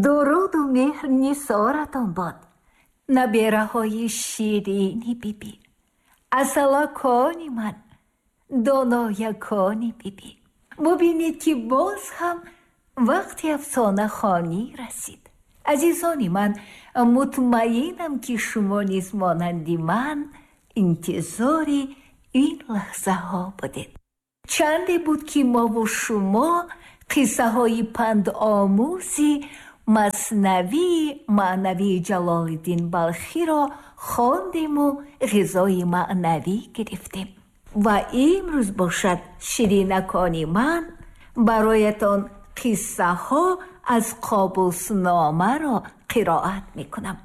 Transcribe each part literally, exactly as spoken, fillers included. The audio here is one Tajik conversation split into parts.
Дуруду меҳр нисоратон бод, набераҳои ширини бибӣ, асалакони ман, доноякони бибӣ. Бубинед, ки боз ҳам вақти афсонахонӣ расид. Азизони ман, мутмаинам, ки шумо низ монанди ман интизори ин лаҳзаҳо будед. Чанде буд, ки мову шумо қиссаҳои пандомӯзи Маснавии маънавии Ҷалолиддин Балхиро хондему ғизои маънавӣ гирифтем. Ва имрӯз бошад, ширинакони ман, бароятон қиссаҳо аз Қобусномаро қироат мекунам.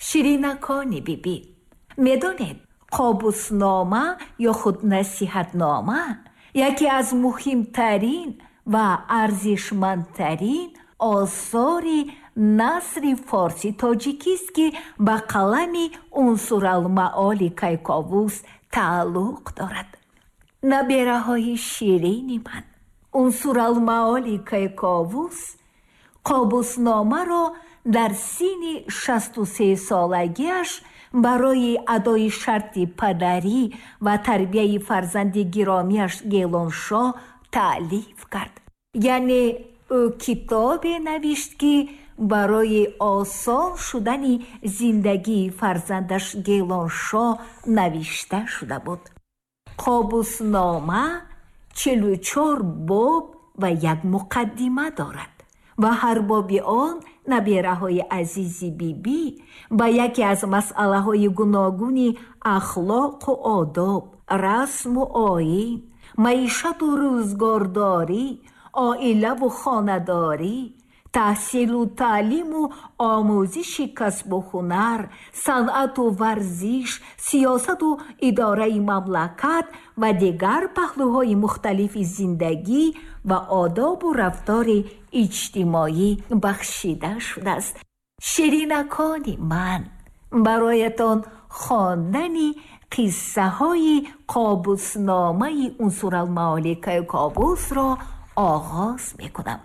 Ширинакони бибӣ, медонед, Қобуснома ё худ насиҳатнома яке аз муҳимтарин ва арзишмандтарин осори насри форси тоҷикист, ки ба қалами Унсуралмаоли Кайковус тааллуқ дорад. Набераҳои ширини ман, Унсуралмаоли Кайковус Қобусномаро дар синни шасту се солагиаш барои адои шарти падарӣ ва тарбияи фарзанди гиромиаш Гелоншоҳ таълиф кард. Яъне ӯ китобе навишт, ки барои осон шудани зиндагии фарзандаш Гелоншоҳ навишта шуда буд. Қобуснома чилу чор боб ва як муқаддима дорад ва ҳар боби он, набераҳои азизи бибӣ, ба яке аз масъалаҳои гуногуни ахлоқу одоб, расму оин, маишату рӯзгордорӣ, оилаву хонадорӣ, таҳсилу таълиму омӯзиши касбу ҳунар, санъату варзиш, сиёсату идораи мамлакат ва дигар паҳлӯҳои мухталифи зиндагӣ ва одобу рафтори иҷтимоӣ бахшида шудааст. Ширинакони ман, бароятон хондани қиссаҳои Қобусномаи Унсуралмаоли Кайковусро оғоз мекунам.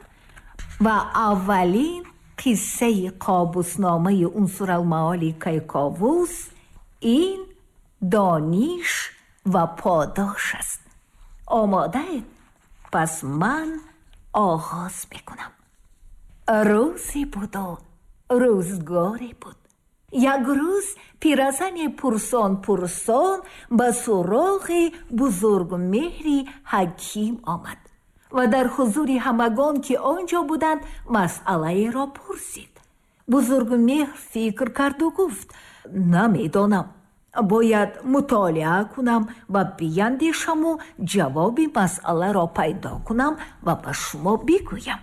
Ва аввалин қиссаи Қобусномаи Унсуралмаоли Кайковус ин дониш ва подош аст. Омодаед? Пас ман оғоз мекунам. Рӯзе буду рӯзгоре буд. Як рӯз пиразане пурсон пурсон ба суроғи Бузургмеҳри ҳаким омад ва дар ҳузури ҳамагон, ки он ҷо буданд, масъалаеро пурсид. Бузургмеҳр фикр карду гуфт: намедонам, бояд мутолиа кунам ва биандешаму ҷавоби масъаларо пайдо кунам ва ба шумо бигӯям.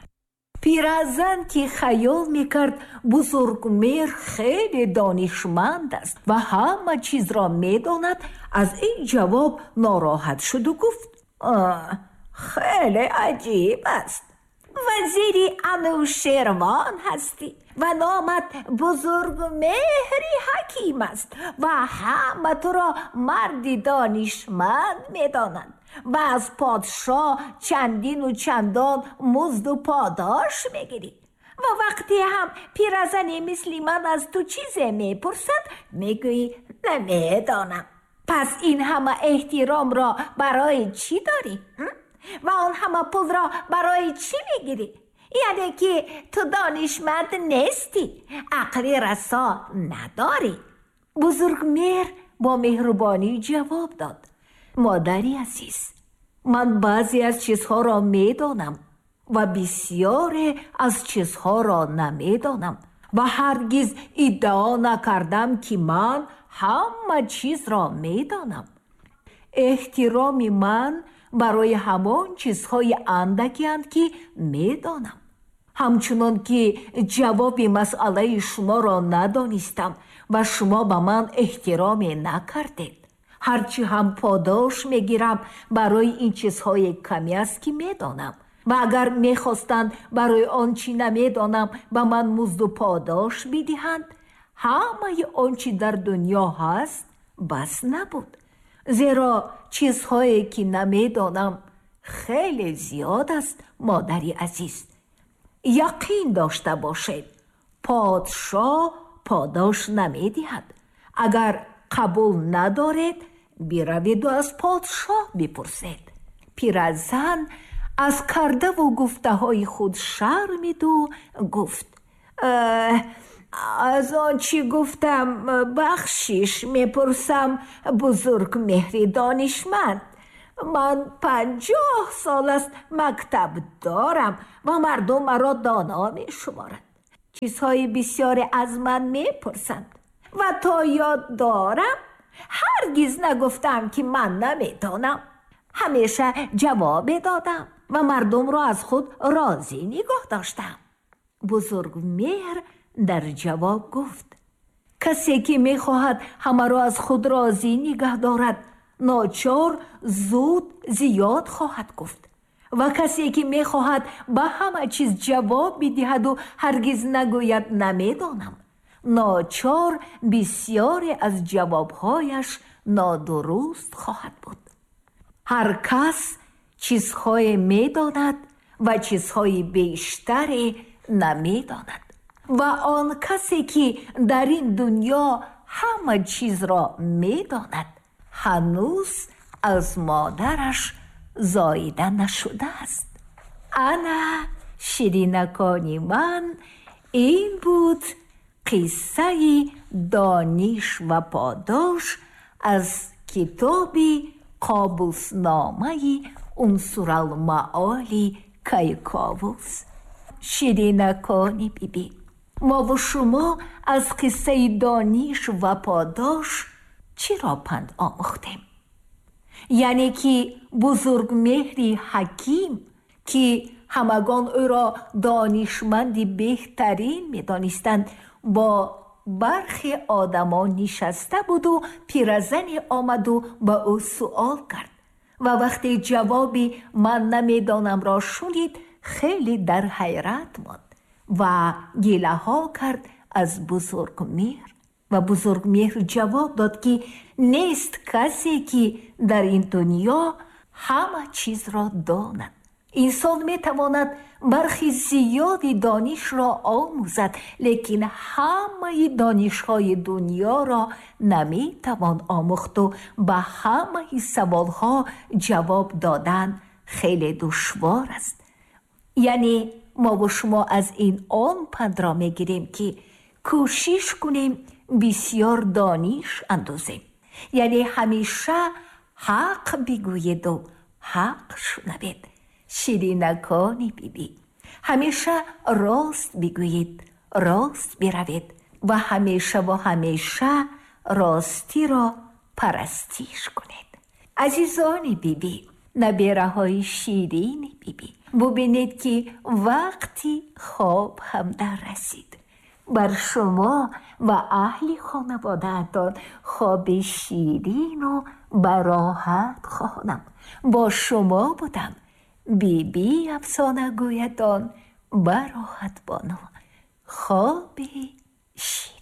Пиразан, ки хаёл мекард Бузургмеҳр хеле донишманд аст ва ҳама чизро медонад, аз ин ҷавоб нороҳат шуду гуфт: хеле аҷиб аст. Вазири Анӯшервон ҳастӣ ва номат Бузургмеҳри ҳаким аст ва ҳама туро марди донишманд медонанд ва аз подшоҳ чандину чандон музду подош мегирӣ. Ва вақте ҳам пиразане мисли ман аз ту чизе мепурсад, мегӯӣ намедонам. Пас ин ҳама эҳтиромро барои чӣ дорӣ? Ва он ҳама пулро барои чӣ мегирӣ? Яъне ки ту донишманд нестӣ, ақли расо надорӣ. Бузургмеҳр бо меҳрубонӣ ҷавоб дод: модари азиз, ман баъзе аз чизҳоро медонам ва бисёре аз чизҳоро намедонам ва ҳаргиз иддао накардам, ки ман ҳама чизро медонам. Эҳтироми ман барои ҳамон чизҳои андакеанд, ки медонам. Ҳамчунон ки ҷавоби масъалаи шуморо надонистам ва шумо ба ман эҳтироме накардед, ҳарчи ҳам подош мегирам барои ин чизҳои каме аст, ки медонам. Ва агар мехостанд барои он чӣ намедонам ба ман музду подош бидиҳанд, ҳамаи он чӣ дар дунё ҳаст бас набуд. Зеро чизҳое ки намедонам хеле зиёд аст, модари азиз. Яқин дошта бошед, подшоҳ подош намедиҳад. Агар қабул надоред, бираведу аз подшоҳ бипурсед. Пиразан аз кардаву гуфтаҳои худ шармиду гуфт: аз он чӣ гуфтам бахшиш мепурсам, Бузургмеҳри донишманд. Ман панҷоҳ сол аст мактаб дорам ва мардум маро доно мешуморанд. Чизҳои бисёре аз ман мепурсанд ва то ёд дорам ҳаргиз нагуфтам, ки ман намедонам. Ҳамеша ҷавобе додам ва мардумро аз худ розӣ нигоҳ доштам. Бузургмеҳр дар ҷавоб гуфт: касе ки мехоҳад ҳамаро аз худ розӣ нигаҳ дорад, ночор зуд зиёд хоҳад гуфт, ва касе ки мехоҳад ба ҳама чиз ҷавоб бидиҳаду ҳаргиз нагӯяд намедонам, ночор бисёре аз ҷавобҳояш нодуруст хоҳад буд. Ҳар кас чизҳое медонад ва чизҳои бештаре намедонад, ва он касе ки дар ин дунё ҳама чизро медонад, ҳанӯз аз модараш зоида нашудааст. Ана ширинакони ман, ин буд қиссаи дониш ва подош аз китоби Қобусномаи Унсуралмаоли Кайковус. Ширинакони бибӣ, мову шумо аз қиссаи дониш ва подош чиро панд омӯхтем? Яъне ки Бузургмеҳри ҳаким, ки ҳамагон ӯро донишманди беҳтарин медонистанд, бо бархе одамон нишаста буду пиразане омаду ба ӯ суол кард ва вақте ҷавоби ман намедонамро шунид, хеле дар ҳайрат монд ва гилаҳо кард аз Бузургмеҳр. Ва Бузургмеҳр ҷавоб дод, ки нест касе, ки дар ин дунё ҳама чизро донад. Инсон метавонад бархи зиёди донишро омӯзад, лекин ҳамаи донишҳои дунёро наметавон омӯхту ба ҳамаи саволҳо ҷавоб додан хеле душвор аст. Яъне мову шумо аз ин он пандро мегирем, ки кӯшиш кунем бисёр дониш андозем, яъне ҳамеша ҳақ бигӯеду ҳақ шунавед. Ширинакони бибӣ, ҳамеша рост бигӯед, рост биравед ва ҳамеша ва ҳамеша ростиро парастиш кунед. Азизони бибӣ, набераҳои ширини бибӣ, бубинед, ки вақти хоб ҳам дар расид. Бар шумо ва аҳли хонаводаатон хоби ширину бароҳат хоҳонам. Бо шумо будам Биби Афсонагӯятон Бароҳат Бону. Хоби ширин.